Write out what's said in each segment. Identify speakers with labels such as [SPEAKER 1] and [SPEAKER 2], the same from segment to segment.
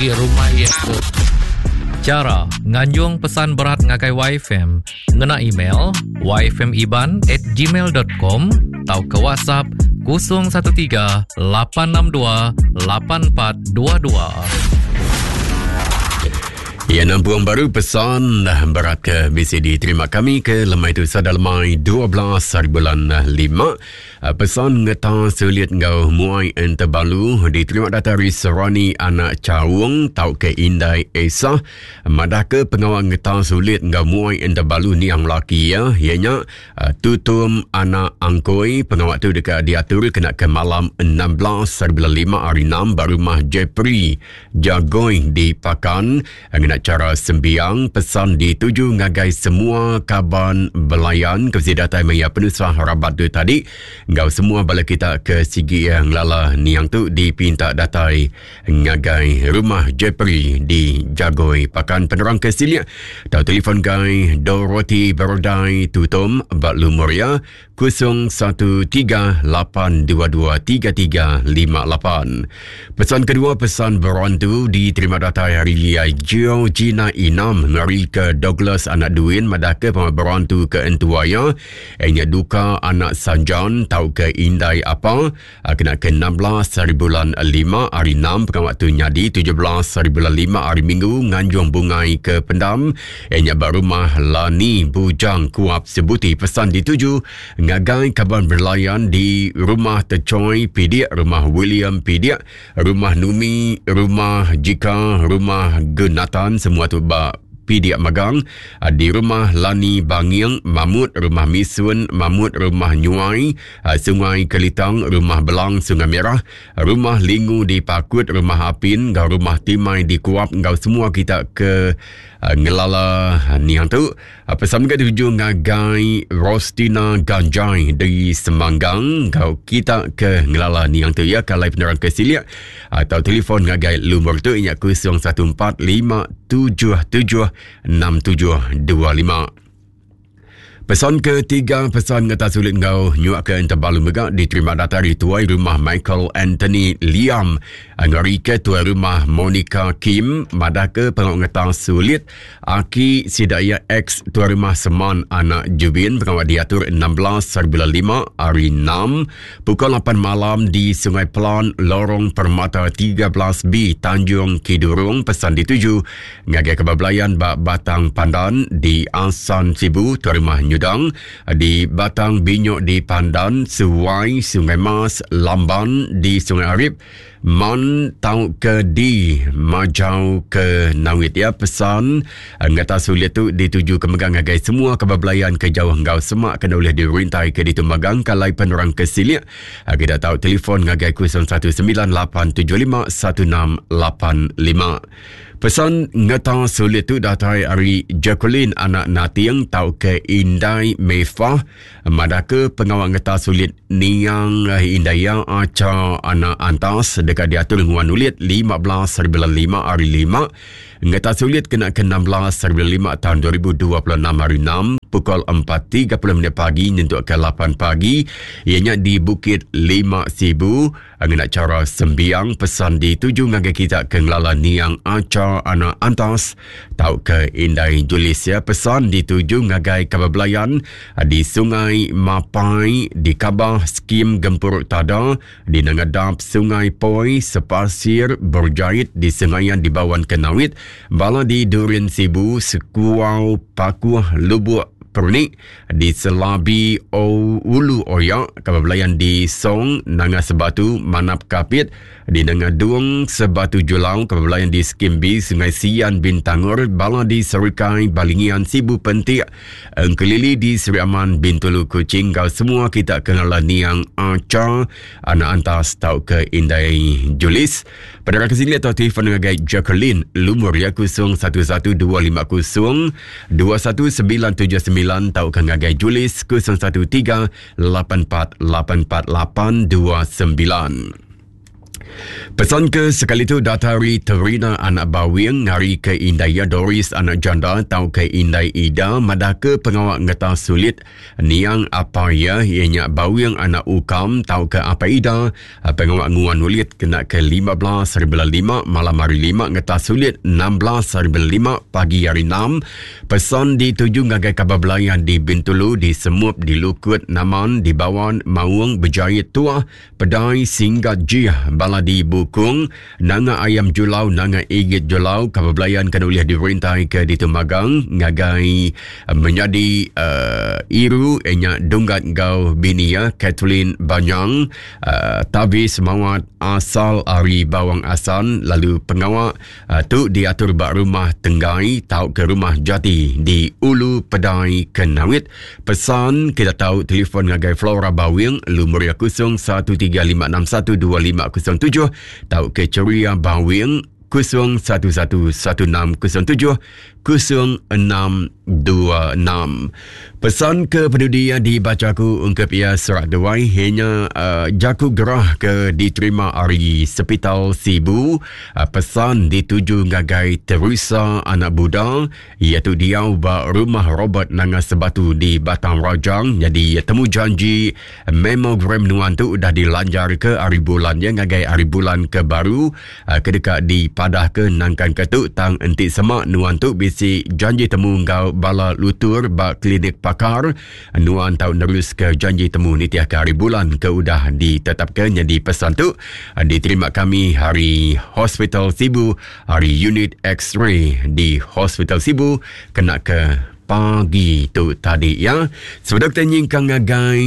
[SPEAKER 1] Rumah iya tu.
[SPEAKER 2] Chara nganjung pesan berat ngagai YFM ngena email yfmiban at gmail dot com tauka WhatsApp 013 862 8422.
[SPEAKER 3] Ya nampung baru pesan berat ke bisi diterima kami ke lemai tu sada lemai 12 hari bulan 5. Pesan ngeta sulit enggau muai entebalu diterima datai ari Serani anak Chaung tauka Indai Esah madahka pengawa ngeta sulit enggau muai entebalu niang laki iya iya nya Tutum anak Angkoi. Pengawa tu deka diatur kena ke malam 16 hari bulan 5 hari 6 ba rumah Jepri Jagoi di Pakan. Ngena chara sembiang, pesan dituju ngagai semua kaban belayan ke bisi datai maya penusah rabat tu tadi enggau semua bala kita ke sigi ngelala niang tu dipinta datai ngagai rumah Jepri di Jagoi. Pakan penerang ke silik tau telefon gai Dorothy Berdai Tutom ba lumur iya 013-822-3358. Pesan kedua pesan berantu diterima datai hari Geo Gina Inam ngari ke Douglas anak Duin madah ke pengawa berantu ke entua iya inya duka anak Sanjan tauka indai apa kena ke 16 hari bulan 5 hari 6 pengawa tu nyadi 17 hari bulan 5 hari Minggu nganjung bungai ke pendam Iya nya ba rumah Lani Bujang Kuap Sebuti pesan dituju ngagai kaban berlayan di Rumah Techoi Pidik, Rumah William Pidik, Rumah Numi, Rumah Jika, Rumah Genatan semua tu ba Pidik Magang, di Rumah Lani Banging, Mamut, Rumah Misun, Mamut, Rumah Nyuai, Sungai Kelitang, Rumah Belang, Sungai Merah, Rumah Lingu di Pakut, Rumah Apin enggau Rumah Timai di Kuap enggau semua kita ke uh, ngelala niang tu. Uh, pesan mega dituju ngagai Rostina Ganjai di Semanggang enggau kita ke ngelala niang tu ya kalai penerang ke silik atau telefon ngagai lumur tu inya 014 577 6725. Pesan ketiga pesan ngeta sulit enggau nyuak ke entebalu mega diterima datai ari tuai rumah Michael Anthony Liam ngari ke tuai rumah Monica Kim madah ke pengawa ngeta sulit aki sida iya ex tuai rumah Seman anak Jubin pengawa diatur 16 hari bulan 5 hari 6 pukul 8 malam di Sungai Pelan Lorong Permata 13B Tanjung Kidurong pesan dituju Ngagai kaban belayan ba Batang Pandan di Asan Sibu, Tuai Rumah Nyudang, di Batang Binyok di Pandan, Suai, Sungai Mas, Lamban di Sungai Arip, Man tauka di Majau ke Nawit ya pesan ngata sulit tu dituju ke megang ngagai semua kaban belayan ke jauh enggau semak kena ulih dirintai ke ditu magang kalai penerang ke silik kita tau telefon ngagai 019875 1685. Pesan ngeta sulit tu datai ari Jacqueline anak Nating tauka Indai Mefah madahka pengawa ngeta sulit niang indai iya Acha anak Antas deka diatur nguan ulit 15 hari bulan 5 hari 5 ngeta sulit kena ke 16 hari bulan 5 tahun 2026 hari 6 pukul 4.30 minit pagi nyentuk ke 8 pagi iya nya di Bukit Lima Sibu. Ngena chara sembiang pesan dituju ngagai kita ke ngelala niang Acha anak Antas tauka Indai Julis ya. Pesan dituju ngagai kaban belayan di Sungai Mapai di Kabah Skim Gempuru Tada di Nanga Dap Sungai Poi Sepasir Berjait di Sengayan di Bawan Kenawit bala di Durin Sibu Sekuau Pakuh Lubuk Pernik di Selabi o Ulu Oya, kaban belayan di Song, Nanga Sebatu, Manap Kapit, di Nanga Dung, Sebatu Julau, kaban belayan di Skimbi, Sungai Sian, Bintangor, bala di Serikai, Balingian, Sibu Pentik, Engkelili di Seri Aman, Bintulu, Kuching, enggau semua kita ke ngelala niang Acha, anak Antas tauka Indai Julis. Penerang ke sini atau telefon ngagai Jacqueline, lumur iya 011250 21979 tauka ngagai Julis 013 84 84 829. Pesan ke sekali tu datai ari Terina anak Bawing ngari ke indai iya Doris anak Janda tauka indai Ida madahka pengawa ngetas sulit niang apai iya iya nya Bawing anak Ukam tauka apai Ida pengawa nguan ulit kena ke 15 hari bulan lima malam hari lima ngetas sulit 16 hari bulan lima pagi hari enam. Pesan dituju ngagai kaban belayan di Bintulu di Semup di Lukut Naman di Bawan Maung Bejait Tuah Pedai Singgat Jih bala di Bukung, Nanga Ayam Julau Nanga Igit Julau kaban belayan ke ulih dirintai ke ditu magang ngagai menyadi uh, Iru nya Dunggat enggau bini iya Kathleen Banyang uh, Tavis Mawat asal ari Bawang Asan lalu pengawa uh, tu diatur ba rumah Tenggai tauka rumah Jati di Ulu Pedai Kenawit. Pesan kita tau telefon ngagai Flora Bawing lumur iya 0135612507 tauka Ceria Bawing 011160 0626. Pesan ke penudi iya dibaca aku ungkup iya serak duai ianya uh, jaku gerah ke diterima ari Sepital Sibu. Pesan dituju ngagai Teresa anak Buda iya tu diau ba rumah Robert Nanga Sebatu di Batang Rajang. Nyadi temu janji mammogram nuan tu udah dilanjar ke ari bulan iya ngagai ari bulan ke baru ke deka dipadahka nangkanka tu tang enti sema nuan tu bisi janji temu enggau bala lutur ba klinik pakar nuan tau neruska janji temu nitihka hari bulan ke udah ditetapka. Nyadi pesan tu diterima kami hari Hospital Sibu hari unit X-ray di Hospital Sibu kena ke pagi tu tadi ya. Sebedau kita nyingkang ngagai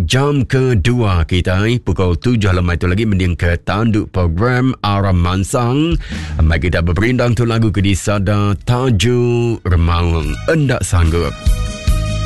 [SPEAKER 3] jam kedua kita pukul 7 lemai tu lagi mending ke tanduk program Aram Mansang. Mai kita beperindang tu lagu ke disada Taju Remaung Endak Sanggup.